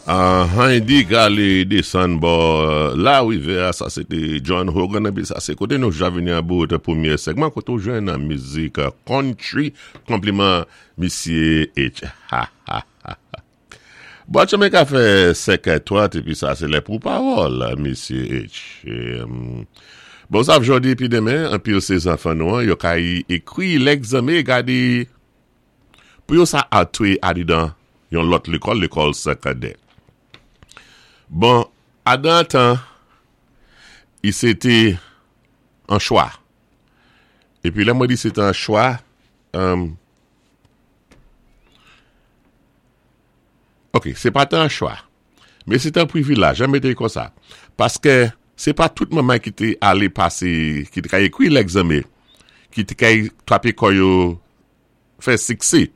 Anhany gale desann bò larivyè a, sa se te John Hogan epi sa se kote nou ja vini an bout premye segman kote ou jwenn mizik country konpliman misye H ha ha ha ha. Bwat chanpay ka fè 5 è 30 epi sa se lè pou pawòl misye H. Bon sa jodi epi demen anpil se zanfan nou an yo ka ekri lègzanme gade Pou yo sa antre adedan yon lòt lekòl, lekòl sekondè. Bon, adan tan, i se te an chwa. Epi lè mwen di se te an chwa, ok, se pa te an chwa, men se te an privilaj, an mete l konsa. Paske se pa tout manman ki te ale pase, ki te ka ekri lègzanmen, ki te ka trape kò yo fè siksé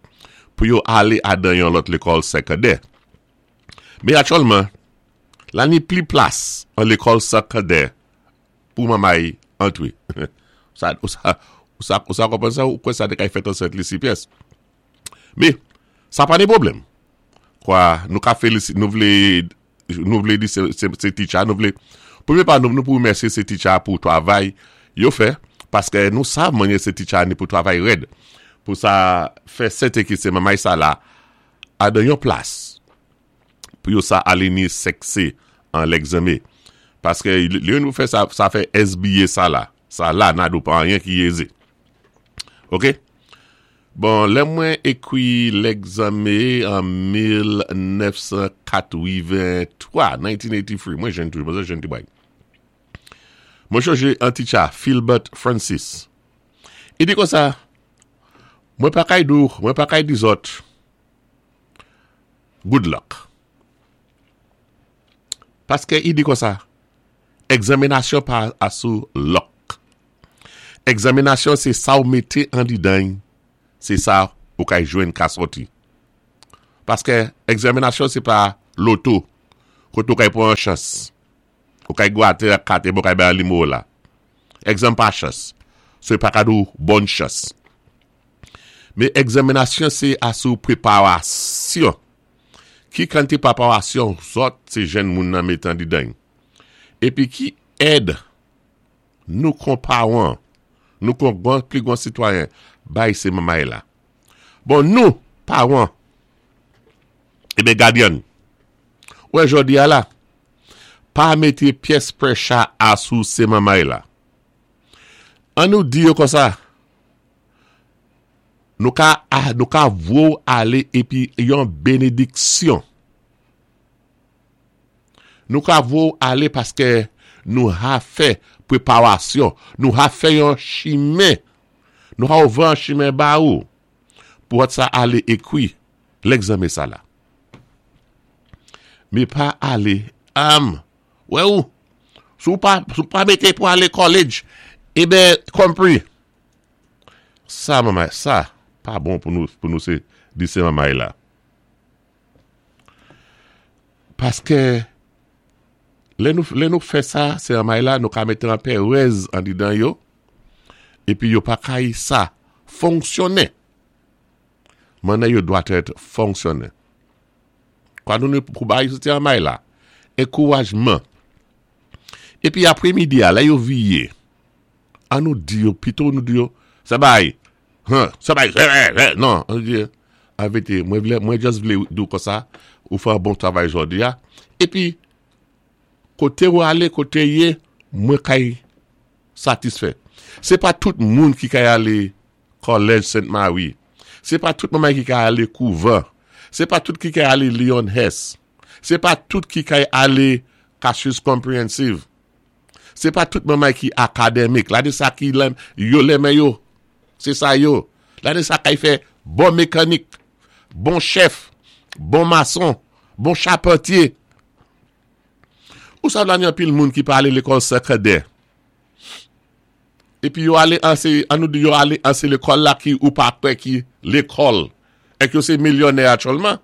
pou yo ale adan yon lòt lekòl sekondè. Men aktyèlman, la ni pli plas an lekòl sekondè pou manmay antre. Sa, ou sa, ou sa, ou sa konprann sa? Ou kwè sa te kay fèt an Sent Lisi pyès? Men, sa pa ni pwoblèm. Kwa, nou ka felisi, nou vle Nou vle di se teacher a nou vle premye pa nou pou remèsye se teacher a pou travay yo fè paske nou sav manye se teacher a ni pou travay rèd pou sa fè sèten ke se manmay sa la a dan yon plas pou yo sa ale ni sèkse an lègzanme paske lè yo nou fè sa sa fè SBA sa la sa la nadou pa anyen ki eze ok. Bon, lè mwen ekwi lègzanme an 1983, 1983, mwen jenn toujou, mwen se jenn ti bway. Mwen chonje an titcha, Philbert Francis. I di konsa, mwen pa kay di w, mwen pa kay di zòt, good luck. Paske i di konsa, egzaminasyon pa asou luck. Egzaminasyon se sa w mete andidan y, se sa ou kay jwenn ka sòti. Paske egzaminasyon se pa loto kote ou kay pran yon chans. Ou kay gwate ak kat epi ou kay bay yon nimewo la. Egzanm pa chans. So yo pa ka di w bòn chans. Men egzaminasyon se asou preparasyon. Ki kantite preparasyon zòt se jenn moun nan mete andidan y. Epi ki èd Nou kon pawan, nou kon gwan pli gwan sitwayen bay se manmay la. Bon nou, pawan, eben gadyann, ou wè jòdi a la, pa mete pyès prècha a sou se manmay la. An nou di yo konsa, nou ka, nou ka vwe w ale epi yon benediksyon. Nou ka voye w ale paske nou ha fè preparasyon, nou ha fè yon chimen, nou ha ouvè yon chimen ba ou pou wòt sa ale ekri lègzanme sa la. Me pa ale, am, wè ou, si w pa, si w pa mete pou ale kòlej, eben, konpri. Sa manmay, sa pa bon pou nou, pou nou se di se manmay la. Paske lè nou lè nou fè sa se anmay la nou ka mete anpèrèz andedan yo epi yo pa kay sa fonksyone mannè yo dwa tèt fonksyone kwa nou nou pou bay se anmay la enkourajman epi apremidi a lè yo viye An nou di yo pito nou di yo sa bay huh sa bay huh non an nou di yo an vete mwen vle mwen just vle di w konsa ou fè yon bon travay jodi a epi kote ou ale kote ye mwen kay satisfè se pa tout moun ki kay ale kòlèj sent mari se pa tout manman ki kay ale kouvan se pa tout ki kay ale Leon Hess se pa tout ki kay ale Cassius Comprehensive. Se pa tout manmay ki akademik. La de sa ki lè yo lè men yo. Se sa yo. La de sa kay fè bon mekanik, bon chèf, bon mason, bon chapantye. Ou sa la ni anpil moun ki pa ale lekòl sekondè. Epi yo ale anse, an nou di yo ale anse lekòl la ki ou pa kwè ki lekòl. Ek yo se milyonè aktyèlman.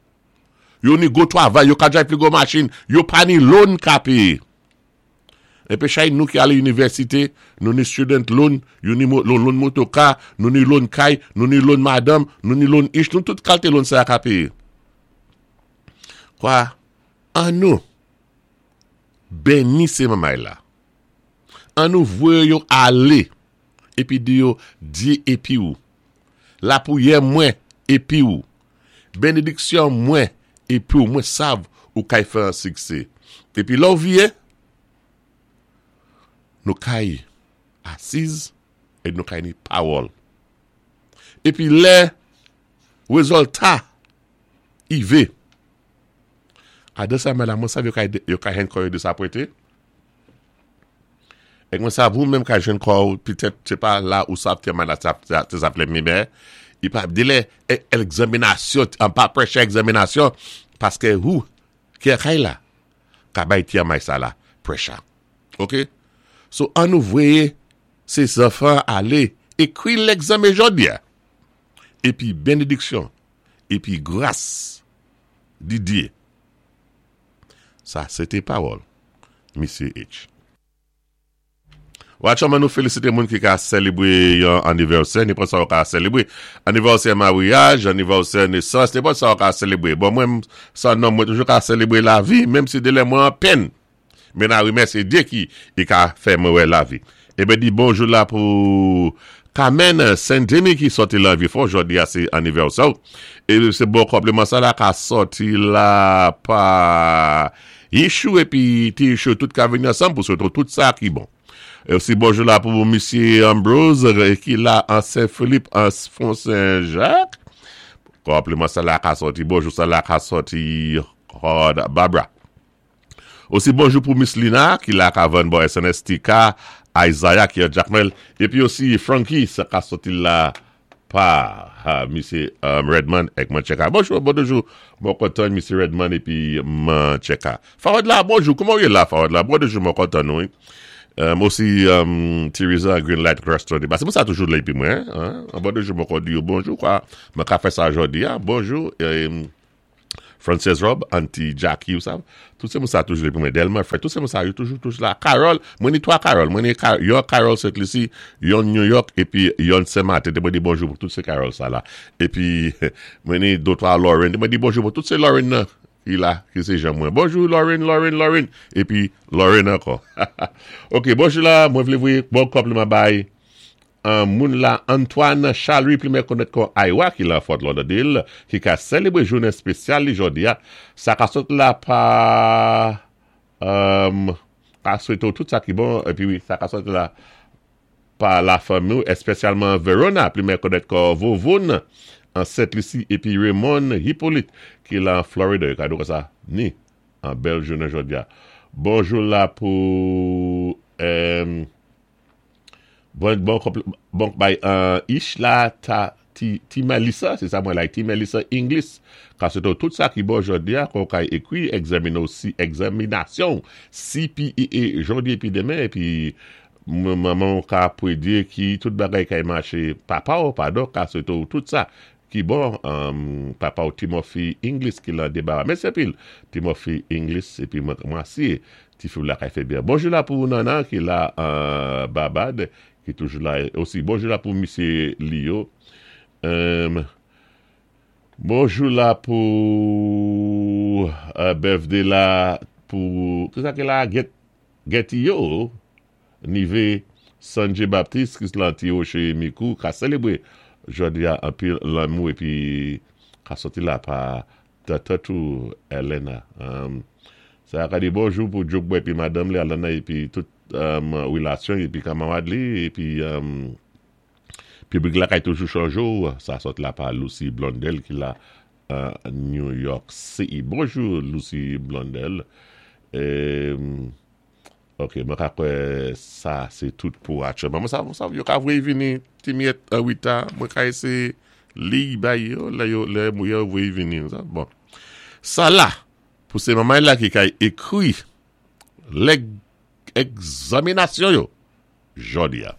Yo ni gwo travay, yo ka drive pi gwo machin, yo pa ni loan ka peye. Enpe chay nou ki ale inivèsite, nou ni student loan, yo ni loan motoka, nou ni loan kay, nou ni loan madanm, nou ni loan ich, nou tout kalte loan sa a ka peye. Kwa, an nou benni sé manmay la. An nou voyé yo alé épi di yo, Dyé épi ou. Lapwiyè mwen épi ou. Benediksyon mwen épi ou. Mwen sav ou kay fè an siksé. Épi lè ou viyé, nou kay asiz é nou kay ni pawòl. Épi lè rezòlta ive, adan sa mè la mwen sav yo kay yo kay jwenn kò yo desapwente. E mwen sav ou menm kay jwenn kò ou petèt se pa la ou sav ke mè la sa te sa vle mi mè i pa delè egzaminasyon an pa pressure egzaminasyon paske ou ki kay la ka bay ti amay sa la pressure. Ok so an nou voye se zanfan ale ekri legzanmen jodi a epi benediksyon epi gras di Dye. Sa se te pawòl Misye H. Watchman nou felisite moun ki ka selebre yon anivèsè, nenpòt sa ou ka selebre. Anivèsè maryaj, anivèsè nesans, nenpòt sa ou ka selebre. Bon mwen san nonm mwen toujou ka selebre lavi, menm si delè mwen an penn. Men na remèsye Dye ki i ka fè mwen wè lavi. Eben di bonjou la pou Kamèn Sendemy ki sòti lan Vyefò jodi a se anivèsè w. E se bon konpliman sa la ka sòti la pa Yichou epi ti Yichou tout ka vini ansanm pou swete w tout sa ki bon. E osi bonjou la pou misye Ambrose ki la an Sen Filip an Fon Sen Jak. Konpliman sa la ka sòti bonjou sa la ka sòti Hard Barbara. Osi bonjou pou Miss Lina ki la ka vann bò SNS TK, Isaiah ki an Jakmèl, epi osi Francky sa ka soti la pa misye Redman ek Mancheka. Bonjou, bon toujou mwen kontan misye Redman epi Mancheka. Fawad la, bonjou, kouman ou ye la Fawad la? Bon toujou mwen kontan nou wi. Osi Theresa Green Light Restaurant. Se pou sa toujou la epi mwen. Bon toujou mwen kontan di yo bonjou kwa. Mwen ka fè sa jodi a. Bonjou. Frances Rob, Auntie Jackie ou sa, tout se moun sa toujou la pou mwen, Delma Fred, tout se moun sa yo toujou toujou la, Carol, mwen ni 3 Carol, mwen ni yon Carol Saint Lucie, yon New York, epi yon Saint Martin, te mwen di bonjou pou tout se Carol sa la, epi mwen ni 2 3 Lauren, te mwen di bonjou pou tout se Lauren nan ki la, ki se jan mwen, bonjou Lauren, Lauren, Lauren, epi Lauren ankò. Ok, bonjou la, mwen vle voye bon konpliman bay Moun la Antoine Charles-Louis plimen konèt kon Aywa ki lan Fort Lauderdale ki ka selebre jounen spesyal li jodi a. Sa ka sot la pa ka swete w tout sa ki bon epi wi sa ka sot la pa la fanmi w espesyalman Verona plimen konèt kon Vouvoun an Sent Lisi epi Raymond Hyppolite ki lan Florida yo ka di w konsa ni an bèl jounen jodi a. Bonjou la pou. Bon bon bon bay ish la ta ti ti Melissa se sa mwen like ti Melissa English ka swete w tout sa ki bon jodi a kon w kay ekri egzamine w si egzaminasyon w CPEA jodi epi demen epi manman w ka pwedye ki tout bagay kay mache papa w padon ka swete w tout sa ki bon papa w Timothy English ki lan debara mèsi anpil Timothy English epi mwen mwen Ti fiw lakay fè byen. Bonjou la pou Nana ki la Babad ki toujou la osi. Bonjou la pou misye Liyo. Bonjou la pou birthday la pou kisa ki la Getty yo Nive Sanjay Baptiste ki lan ti roche mikou ka selebre jodi a anpil lanmou epi ka soti la pa Tata tou Elena sa ka di bonjou pou Djokbo epi madanm li Alana epi tout relasyon epi kamarad li epi piblik lakay toujou chonje w sa sot la pa Lucie Blondel ki la New York City bonjou Lucie Blondel. Ok mwen ka kwè sa se tout pou aktyèlman mwen sa sa yo ka voye vini ti miyèt an reta mwen ka eseye liy bay yo lè yo lè yo voye vini bon sa la pou se manman la ki kay ekri lè egzaminasyon yo jodi a.